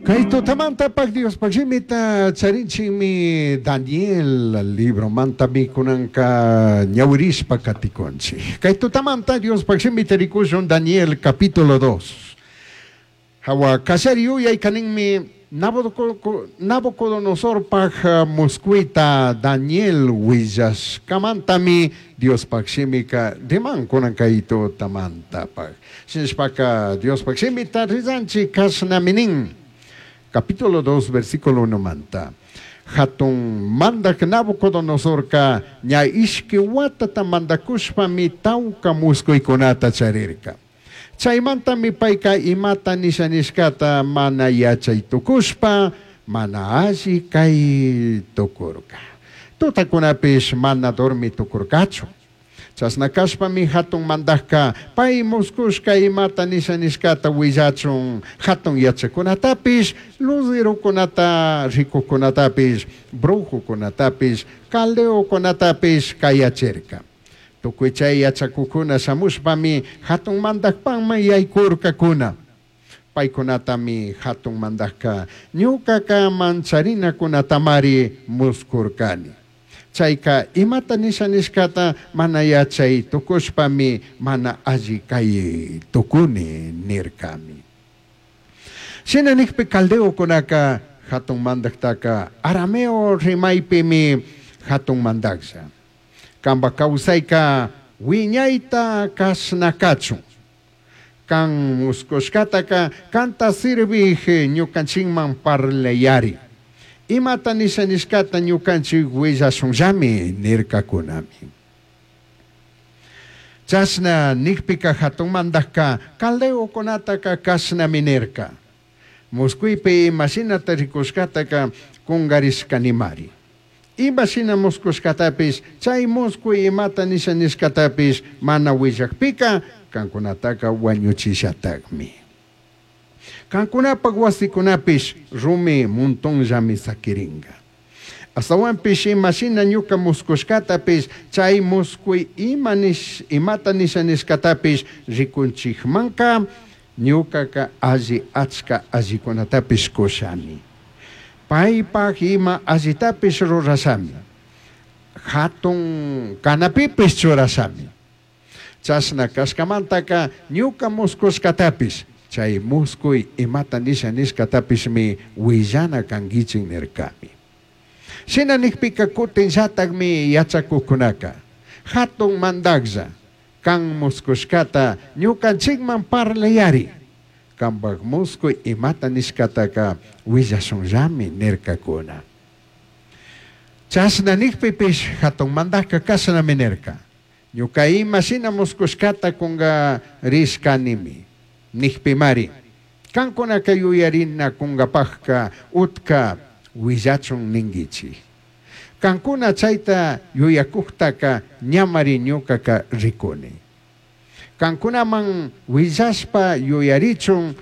Kay tutamantapaj Diospaj shimita charinchikmi Daniel libromantami kunanka ñawirishpa katikunchik. Kay tutamanta Diospaj shimita rikushun Daniel capítulo 2. Hawa kallari yuyayka ninmi Nabucodonosorpaj muscuita Daniel willashkamantami Diospaj shimika riman kunan kay tutamantapaj. Shinashpaka Diospaj shimita rizanchik kashnami nin. Capítulo 2, versículo 1 manta. Hatun mandak Nabucodonosorka ña ishki watata mandakushpami tawka muskuykunata charirka. Chaymantami payka imata nisha nishkata mana yachay tukushpa mana alli kay tukurka. Tutakunapish mana dormi tukurkachu. Chashna kashpami hatun mandakka pay muskushka imata nisha nishkata willachun hatun yachakunatapish, luzerokunata rikukunatapish, brujukunatapish, caldeokunatapish kayachirka. Tukuy chay yachakukuna shamushpami hatun mandakpakman yaykurkakuna. Paykunatami hatun mandakka ñukaka mancharinakunatamari muskurkani. Chayka imata nisha nishkata mana yachay tukushpami mana alli kay tukuni nirkami. Shina nikpi caldeokunaka hatun mandaktaka arameo rimaypimi hatun mandaklla. Kanpa kawsayka wiñayta kashna kachun. Kan muskushkataka kanta sirvij ñukanchikman parlayari. Imata nisha nishkata ñukanchik willashunllami nirkakunami. Chashna nikpika hatun mandakka caldeokunataka kashnami nirka. Muskuypi imashinata rikushkataka kungarishkanimari. Imashina muskushkatapish chay muskuy imata nisha nishkatapish mana willakpika kankunataka wañuchishatakmi. Kankunapak wasikunapish rumi montonllami sakirinka. Astawanpish imashina ñuka muskushkatapish chay muskuy ima nish, imata nisha nishkatapish rikunchikmanka ñukaka alli achka allikunatapish kushami. Paypak ima allitapish rurashami. Hatun kanapipish churashami. Chashna kashkamantaka ñuka muskushkatapish chay muskuy imata nisha nishkatapishmi willana kankichik nirkami. Shina nikpika kutinllatakmi yachakuqkunaka hatun mandaklla kan muskushkata ñukanchikman parlayari. Kanpak muskuy imata nishkataka willashunllami nirkakuna. Chashna nikpipish hatun mandakka kashnami nirka. Ñuka ima shina muskushkata kungarishkanimi. Nikpimari. Kankunaka yuyarina kunkapakka utka willachun ninkichik. Kankuna chayta yuyakuktaka ñamari ñukaka rikuni. Kankunaman willashpa yuyarichun.